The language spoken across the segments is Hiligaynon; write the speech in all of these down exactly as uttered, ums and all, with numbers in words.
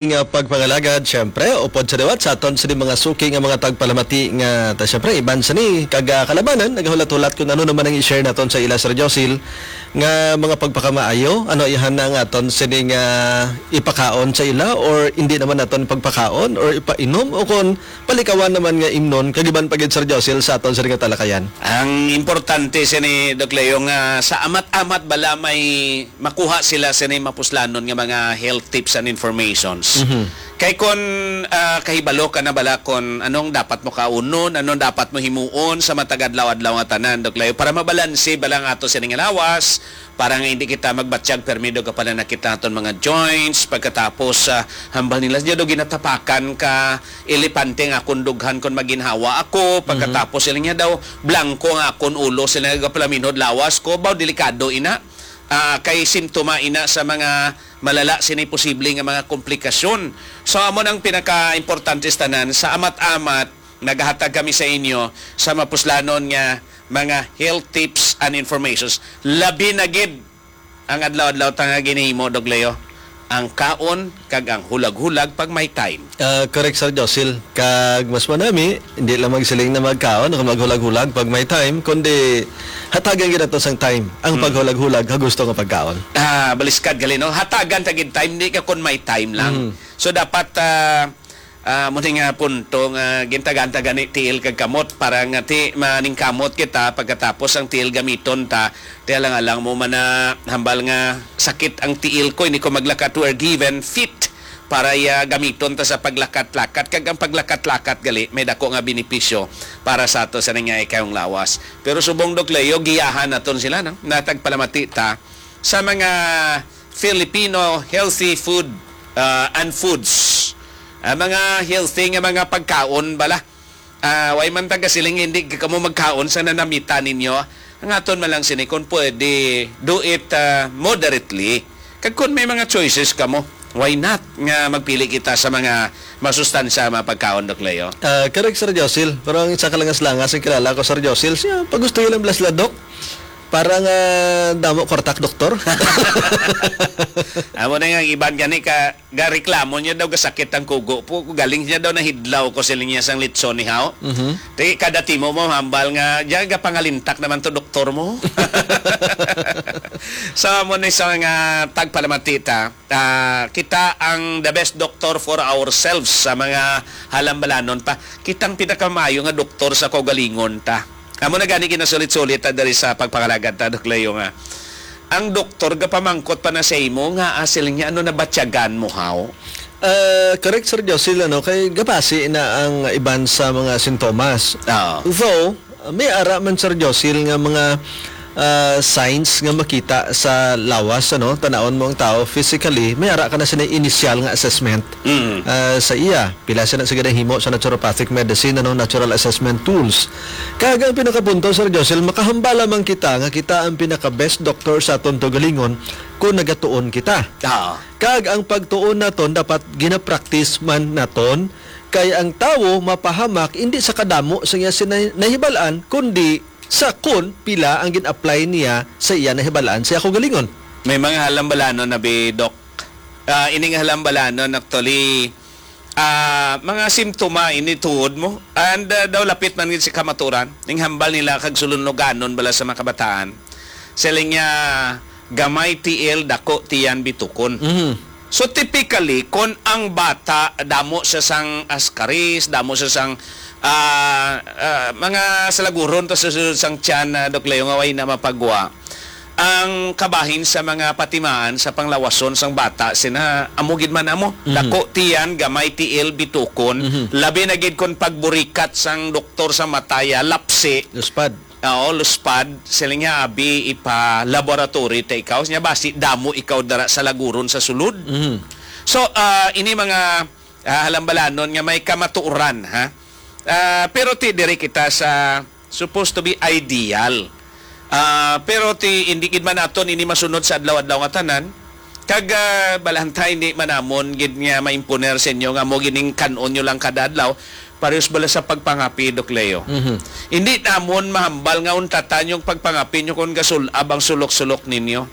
nga pagpangalagad, syempre, upod sa liwat sa aton sini mga suki nga mga tagpalamati nga, ta, syempre, iban sini kag, ah, kalabanan, nagahulat-hulat kung ano naman ang i-share naton sa ila, Sir Josil, nga mga pagpakamaayo, ano, iyahan na nga aton sini nga ipakaon sa ila or hindi naman naton pagpakaon or ipainom o kon palikawan naman nga imnon, kagiban pa gid, Sir Josil, sa aton sini nga talakayan. Ang importante sini, Doc Leo, nga sa amat-amat bala may makuha sila sini mapuslanon nga mga health tips and informations. Mhm. Kay kon, ah, kahibalo ka na bala kon anong dapat mo kaunon, anong dapat mo himuon sa matag adlaw-adlaw nga tanan, Doc Leo, para mabalanse bala ang ato sini nga lawas, para nga hindi kita magbatyag permi do ka pala nakita aton mga joints, pagkatapos, ah, hambal nila, "Diya do ginatapakan ka elepante nga akon dughan kon maginhawa ako," Mhm. Pagkatapos sila niya daw, "Blanco nga akon ulo," sila nga palaminhod lawas ko, baw delikado ina. Ah, kay simptoma ina sa mga malala sini posible nga mga komplikasyon. So, amo nang pinaka-importante sa tanan, sa amat-amat, nagahatag kami sa inyo sa mapuslanon nga mga health tips and informations. Labi na gid ang adlaw-adlaw ta nga ginhimo, Dog Leo, ang kaon kag ang hulag-hulag pag may time. Ah, correct, Sir Josil. Kag mas manami, hindi lang magsiling na magkaon o maghulag-hulag pag may time, kundi hatagan gid nato sang time ang Mm. paghulag-hulag ha gusto nga pagkaon. Ah, baliskad gali, no? Hatagan ta gid time, di ka kun may time lang. Mm. So, dapat, ah, ah, mo ni nga punto nga gintagan ta gani tiil kag kamot para nga ti maningkamot kita pagkatapos ang tiil gamiton ta. Ti alang-alang mo man na hambal nga sakit ang tiil ko, hindi ko maglakat, we're given feet para iya gamiton ta sa paglakat-lakat, kag ang paglakat-lakat gali may dako nga benepisyo para sa ato sa nangyaikayong lawas. Pero subong, Doc Leo, giyahan naton sila, no? Natagpalamati ta sa mga Filipino healthy food, ah, and foods. Ah, mga healthy nga mga pagkaon bala. Ah, way man taga siling hindi ka mo magkaon sa nanamita ninyo. Ang aton man lang sini, kung pwede, do it, ah, moderately. Kag kung may mga choices ka mo, why not nga magpili kita sa mga masustansya, mga pagkaon, Doc Leo? Ah, correct, Sir Josil. Pero ang isa ka langas-langas ang kilala ko, Sir Josil, siya, pagusto lang blas la, Doc. Para nga damo kwartak, doktor. Amo na nga, ang iban gani ka, gareklamo niya daw, gasakit ang kugo po. Galing niya daw, nahidlaw ko sila niya sang litson ni Hao. Mhm. Ti, kada timo mo, hambal nga, diyan, gapangalintak naman to, doktor mo. So, amo na sa mga tagpalamati ta. Ah, kita ang the best doctor for ourselves sa mga halambalanon pa. Kitang pinakamaayo nga doktor sa kaugalingon ta. Amo na gani ginasulit-sulit ta diri sa pagpangalagad ta, Doc Leo, nga ang doktor gapamangkot pa na sa imo nga asil niya, ano, nabatyagan mo, Hao? Ah, correct, Sir Josil, ano, kay gabasi na ang iban sa mga sintomas. Oo. Though, may ara man, Sir Josil, nga mga, ah, signs nga makita sa lawas, ano, tanawon mo ang tao physically, may ara ka na sina initial nga assessment, Mm. ah, sa iya. Pila sila sa ginahimo sa naturopathic medicine, ano, natural assessment tools. Kag ang pinakapunto, Sir Josil, makahambal lamang kita nga kita ang pinaka-best doctor sa aton kaugalingon kung nagatuon kita. Oo. Kag ang pagtuon naton dapat ginapractice man naton, kay ang tawo mapahamak indi sa kadamo sa iya sina-, nahibalaan, kundi sa kon pila ang gin-apply niya sa iya nahibalaan sa iya kaugalingon. May mga halambalanon na bi, Doc. Ah, ini nga halambalanon, actually, ah, mga simptoma ini tuod mo. And, ah, daw lapit man gid si kamaturan. Ning hambal nila kag sulunuganon bala sa mga kabataan. Siling niya, gamay tiil, dako tiyan, bitukon. Mhm. So, typically, kon ang bata, damo siya sang askaris, damo siya sang, ah, ah, mga salaguron, tas susunod sang tiyan, ah, Doc Leo, nga way na mapagwa. Ang kabahin sa mga patimaan sa panglawason sang bata, sina, amo gid man amo. Mhm. Dako tiyan, gamay tiil, bitukon, Mhm. labi na gid kon pagburikat sang doktor sa mataya, lapsi. Luspad. Oo, luspad, siling niya, abi, ipa-laboratory ta ikaw. Niya, basi, damo ikaw dara sa laguron sa sulod. Mhm. So, ah, ini mga, ah, halambalanon nga may kamatuoran, ha? Ah, pero ti, diri kita sa supposed to be ideal. Ah, pero ti, hindi gid man aton ini masunod sa adlaw-adlaw nga tanan. Kag, ah, balantay, hindi man namon gid nga maimponer sa inyo nga mo gining kan-on nyo lang kada adlaw, parehas bala sa pagpangapi, Doc Leo. Mhm. Hindi namon mahambal nga untatan yung pagpangapi nyo kung gasulab ang sulok-sulok ninyo.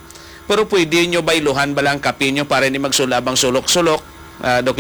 Pero pwede nyo bayluhan bala ang kape nyo para hindi magsulab ang sulok-sulok. Ah, Doc